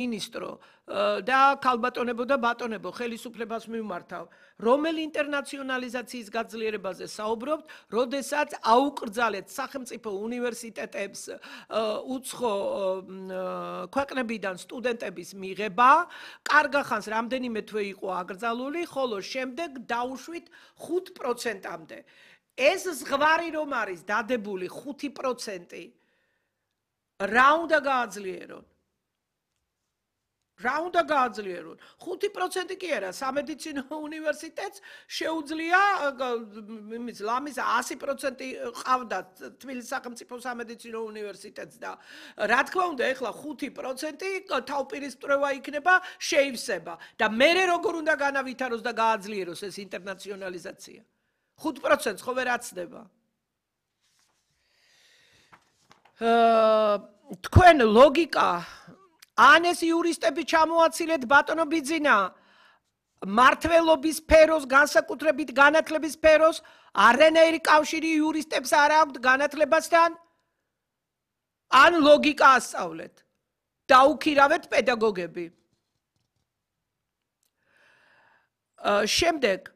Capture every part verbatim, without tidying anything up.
მინისტრო და ქალბატონებო და ბატონებო ხელისუფლებას მიმართავ, რომელი ინტერნაციონალიზაციის გაძლიერებაზე საუბრობთ, როდესაც აუკრძალეთ სახელმწიფო უნივერსიტეტებს უცხო ქვეყნებიდან სტუდენტების მიღება, კარგახანს რამდენიმე თვე იყო აკრძალული, ხოლო შემდეგ დაუშვით ხუთ პროცენტამდე. ეს ზღვარი რომ არის დადებული ხუთი პროცენტი, რა უნდა გააძლიერონ? რა უნდა გააძლიერონ? ხუთი პროცენტი კი არა, სამედიცინო უნივერსიტეტს შეუძლია იმის ლამის ასი პროცენტი ყავდა თბილისის სახელმწიფო სამედიცინო უნივერსიტეტს და რა თქმა უნდა, ეხლა ხუთი პროცენტი თავპირისპირება იქნება, შეივსება და მერე როგორ უნდა განავითაროს და გააძლიეროს ეს ინტერნაციონალიზაცია? ხუთ პროცენტს ხო ვერ აცდება? თქვენ ლოგიკა ან ეს იურისტები ჩამოაცილეთ ბატონო ბიძინა მართლობის სფეროს განსაკუთრებით განათლების სფეროს არანაირი კავშირი იურისტებს არ აქვთ განათლებასთან ან ლოგიკა ასწავლეთ დაუქირავეთ პედაგოგები შემდეგ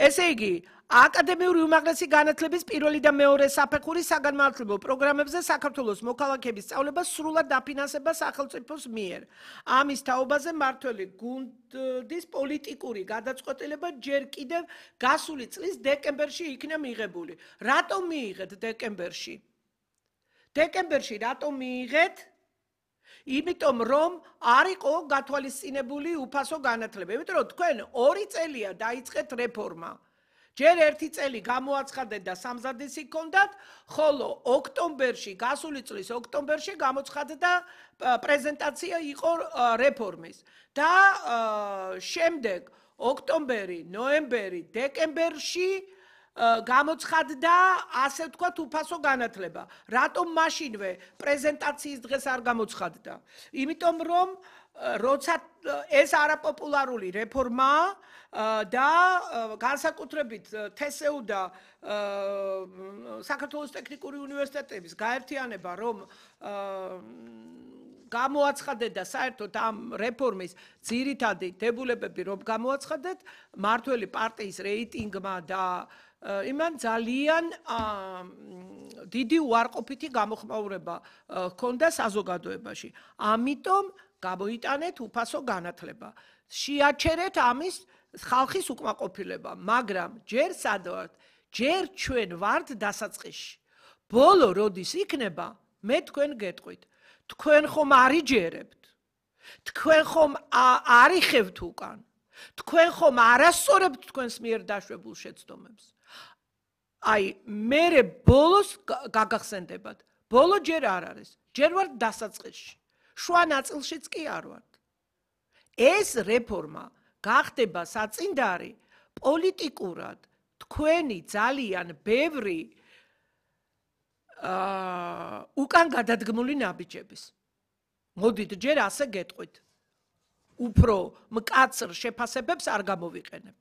ესე იგი აკადემიური უმაღლესი განათლების პირველი და მეორე საფეხურის საგანმანათლებლო პროგრამებზე საქართველოს მოქალაქეების სწავლება სრულად დაფინანსება სახელმწიფოს მიერ. ამის თაობაზე მმართველი გუნდის პოლიტიკური გადაწყვეტილება ჯერ კიდევ გასული წლის დეკემბერში იქნა მიღებული. რატომ მიიღეთ დეკემბერში? დეკემბერში რატომ მიიღეთ? იმიტომ რომ არ იყო გათვალისწინებული უფასო განათლება. იმიტომ რომ თქვენ ორი წელია დაიწყეთ რეფორმა. ჯერ ერთი წელი გამოაცხადეთ და სამზადისი ჰქონდათ, ხოლო ოქტომბერში, გასული წლის ოქტომბერში გამოცხადდა პრეზენტაცია იყო რეფორმის. და შემდეგ ოქტომბერი, ნოემბერი, დეკემბერში გამოცხადდა ასე ვთქვათ უფასო განათლება. რატომ მაშინვე პრეზენტაციის დღეს არ გამოცხადდა? იმიტომ რომ როცა ეს არაპოპულარული რეფორმაა და განსაკუთრებით თესეუ და საქართველოს ტექნიკური უნივერსიტეტების გაერთიანება რომ გამოაცხადეთ და საერთოდ ამ რეფორმის ძირითადი დებულებები რომ გამოაცხადეთ მმართველი პარტიის რეიტინგმა და იმან ძალიან დიდი უარყოფითი გამოხმაურება ჰქონდა საზოგადოებაში. ამიტომ გამოიტანეთ უფასო განათლება. შეაჩერეთ ამის ხალხის უკმაყოფილება, მაგრამ ჯერ სად ვართ? ჯერ ჩვენ ვართ დასაწყისში. ბოლო როდის იქნება, მე თქვენ გეტყვით. თქვენ ხომ არიჯერებთ? თქვენ ხომ არიხევთ უკან? თქვენ ხომ არასწორებთ თქვენს მიერ დაშვებულ შეცდომებს? აი, მერე ბოლოს გაგახსენდებათ. ბოლო ჯერ არ არის. ჯერ ვართ დასაწყისში. შუა ნაწილშიც კი არ ვართ. ეს რეფორმა გახდება საწინდარი პოლიტიკურად თქვენი ძალიან ბევრი უკან გადადგმული ნაბიჯების. მოდით ჯერ ასე გეტყვით. უფრო მკაცრ შეფასებებს არ გამოვიყენებ.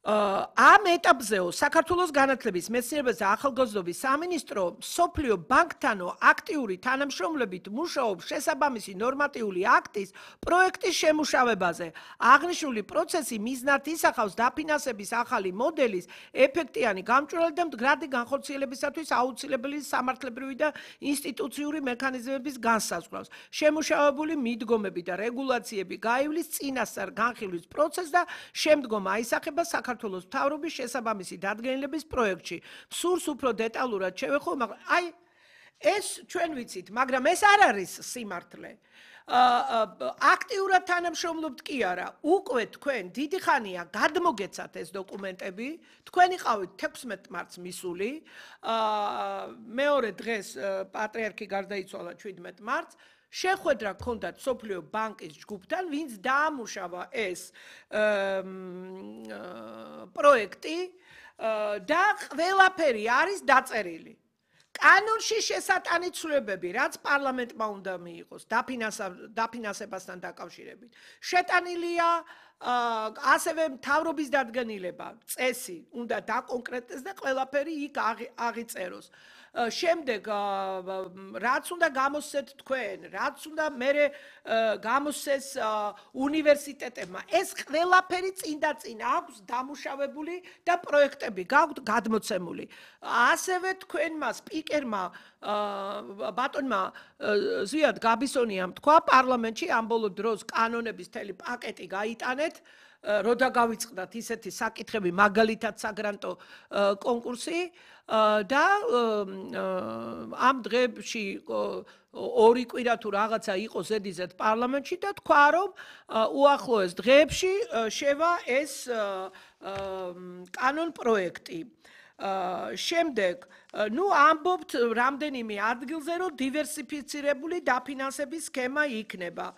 ამ ეტაპზეო საქართველოს განათლების მეცნიერებისა და ახალგაზრდობის სამინისტრო მსოფლიო ბანკთანო აქტიური თანამშრომლობით მუშაობს შესაბამისი ნორმატიული აქტის პროექტის შემუშავებაზე. აღნიშნული პროცესი მიზნად ისახავს დაფინანსების ახალი მოდელის ეფექტიანი გამჭვირვალე და მდგრადი განხორციელებისათვის აუცილებელი სამართლებრივი და ინსტიტუციური მექანიზმების განსაზღვრავს. შემუშავებული მიდგომები და რეგულაციები გაივლის წინასწარ განხილვის პროცესს და შემდგომ აისახება საქართველოს საქართველოს მთავრობის შესაბამისი დადგენილების პროექტში. სურს უფრო დეტალურად შევეხო, მაგრამ აი ეს ჩვენ ვიცით, მაგრამ ეს არ არის სიმართლე. აქტიურად თანამშრომლობთ კი არა, უკვე თქვენ დიდი ხანია გადმოგეცათ ეს დოკუმენტები, თქვენ იყავით თექვსმეტ მარტს მისული, მეორე დღეს პატრიარქი გარდაიცვალა შვიდმეტ მარტს, შეხვედრა ჰქონდათ სოფლიო ბანკის ჯგუფთან, ვინც დაამუშავა ეს პროექტი და ყველაფერი არის დაწერილი. კანონში შესატანი ცვლილებები, რაც პარლამენტმა უნდა მიიღოს დაფინანსებასთან დაკავშირებით. შეტანილია ასევე მთავრობის დადგენილება, წესი უნდა დაკონკრეტდეს და ყველაფერი იქ აღიწეროს. შემდეგ რაც უნდა გამოსცეთ თქვენ, რაც უნდა მერე გამოსცეს უნივერსიტეტებმა, ეს ყველაფერი წინ და წინ აქვს დამუშავებული და პროექტები გაქვთ გადმოცემული. ასევე თქვენმა სპიკერმა ბატონმა ზვიად გაბისონიამ თქვა პარლამენტში ამ ბოლო დროს კანონების მთელი პაკეტი გაიტანეთ, როდა გავიწყდათ ისეთი საკითხები, მაგალითად საგრანტო კონკურსი და ამ დღეებში ორი კვირა თუ რაღაცა იყო ზედიზედ პარლამენტში და თქვა რომ უახლოეს დღეებში შევა ეს კანონ პროექტი. შემდეგ, ნუ ამბობთ რამდენიმე ადგილზე, რომ დივერსიფიცირებული დაფინანსების სქემა იქნება.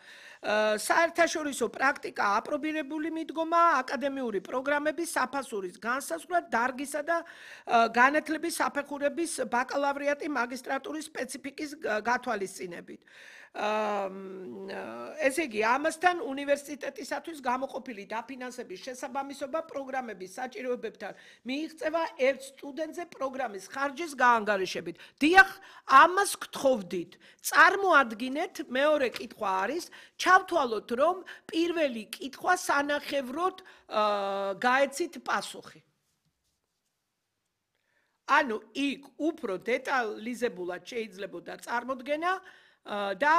საერთაშორისო პრაქტიკა აპრობირებული მიდგომა აკადემიური პროგრამების საფასურის განსაზღვრა დარგისა და განათლების საფეხურების ბაკალავრიატი მაგისტრატურის სპეციფიკის გათვალისწინებით. ესე იგი, ამასთან უნივერსიტეტისათვის გამოყოფილი დაფინანსების შესაბამისობა პროგრამების საჭიროებებთან მიიღწევა ერთ სტუდენტზე პროგრამის ხარჯის გაანგარიშებით. დიახ, ამას გთხოვდით. წარმოადგინეთ, მეორე კითხვა არის, ჩავთვალოთ, რომ პირველი კითხვა სანახევროდ გაეცით პასუხი. ანუ იქ უფრო დეტალიზებულად შეიძლებოდა წარმოდგენა და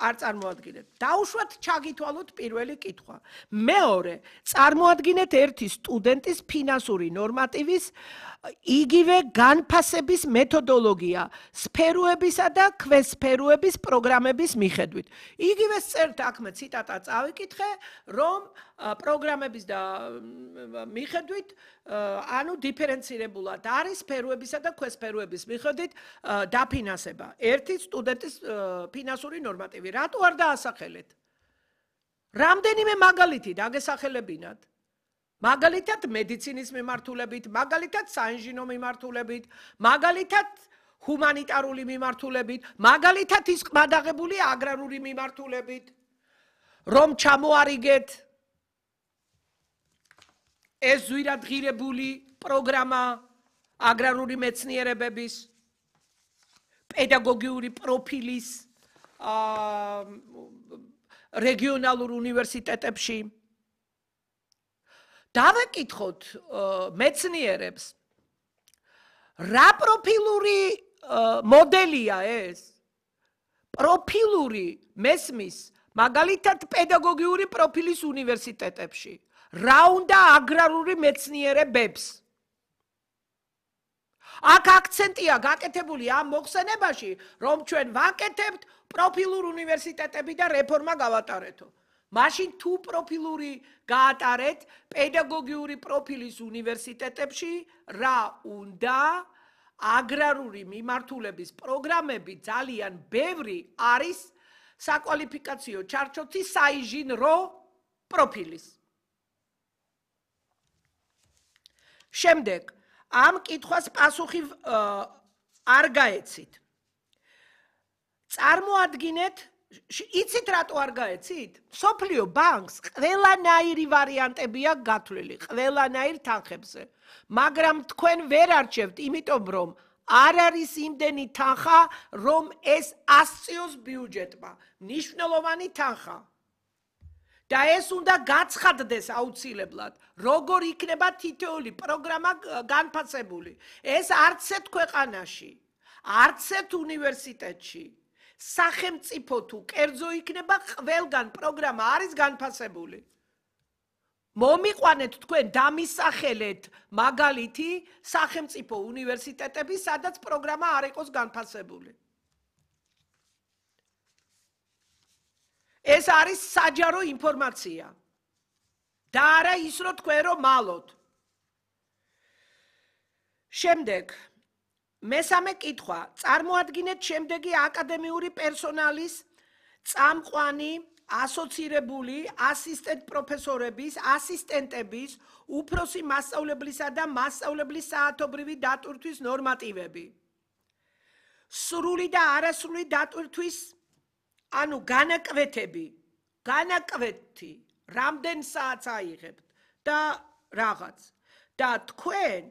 არ წარმოადგინეთ. დაუშვათ ჩაგითვალოთ პირველი კითხვა. მეორე, წარმოადგინეთ ერთი სტუდენტის ფინანსური ნორმატივის იგივე განფასების მეთოდოლოგია სფეროებისა და ქვესფეროების პროგრამების მიხედვით. იგივე წერთ აქვე ციტატა წავიკითხე, რომ პროგრამების და მიხედვით, ანუ დიფერენცირებულად არის სფეროებისა და ქვესფეროების მიხედვით დაფინანსება. ერთი სტუდენტის ფინანსური ნორმატივი. რატო არ დაასახელეთ? რამდენიმე მაგალითი დაგესახელებინათ. მაგალითად მედიცინის მიმართულებით, მაგალითად საინჟინრო მიმართულებით, მაგალითად ჰუმანიტარული მიმართულებით, მაგალითად ის ყმადაღებული აგრარული მიმართულებით, რომ ჩამოარიგეთ ეს ზვირადღირებული პროგრამა აგრარული მეცნიერებების, პედაგოგიური პროფილის რეგიონალურ უნივერსიტეტებში. დავეკითხოთ მეცნიერებს, რა პროფილური მოდელია ეს? პროფილური მესმის, მაგალითად პედაგოგიური პროფილის უნივერსიტეტებში. რა უნდა აგრარული მეცნიერებებს? აქ აქცენტია გაკეთებული ამ მოხსენებაში, რომ ჩვენ ვაკეთებთ პროფილურ უნივერსიტეტები და რეფორმა გავატარეთო. მაშინ თუ პროფილური გაატარეთ პედაგოგიური პროფილის უნივერსიტეტებში, რა უნდა? აგრარული მიმართულების პროგრამები ძალიან ბევრი არის საკვალიფიკაციო ჩარჩოთი საინჟინრო პროფილის. შემდეგ, ამ კითხვას პასუხი არ გაეცით. წარმოადგინეთ, იცით რატო არ გაეცით? სოფლიო ბანკს ყველანაირი ვარიანტები აქვს გათვლილი, ყველანაირ თანხებზე. მაგრამ თქვენ ვერ არჩევთ, იმიტომ რომ არ არის იმდენი თანხა, რომ ეს ასწიოს ბიუჯეტმა. მნიშვნელოვანი თანხა. და ეს უნდა გაცხადდეს აუცილებლად, როგორ იქნება თითოეული პროგრამა განფასებული. ეს არც ერთ ქვეყანაში, არც ერთ უნივერსიტეტში, სახელმწიფო თუ კერძო იქნება, ყველგან პროგრამა არის განფასებული. მომიყვანეთ თქვენ დამისახელეთ მაგალითი სახელმწიფო უნივერსიტეტების, სადაც პროგრამა არ იყოს განფასებული. ეს არის საჯარო ინფორმაცია. და არა ის, რომ თქვენ რომ მალოთ. შემდეგ, მესამე კითხვა. წარმოადგინეთ შემდეგი აკადემიური პერსონალის წამყვანი, ასოცირებული, ასისტენტ პროფესორების, ასისტენტების, უფროსი მასწავლებლისა და მასწავლებლის საათობრივი დატვირთვის ნორმატივები. სრული და არასრული დატვირთვის, ანუ განაკვეთები, განაკვეთი, რამდენ საათს აიღებთ და რაღაც. და თქვენ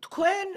თქვენ